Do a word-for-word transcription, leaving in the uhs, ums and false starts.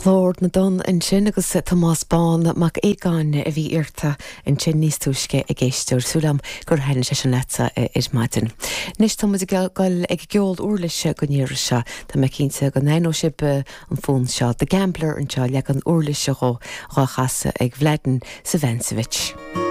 Glór na dTonn ansin agus Tomás Bán Mac Aogáin a bhí iarrta ansin níos túisce ag éisteoir súil agam gur thaitin sé sin leatsa ar maidin. Anois tá muid ag dul ag ceol uirlise don iarraidh seo Tá mé cinnte go n-aithneoidh sibh an fonn seo The Gambler anseo leagan uirlise dhó á chasadh ag Mladen Svancevic.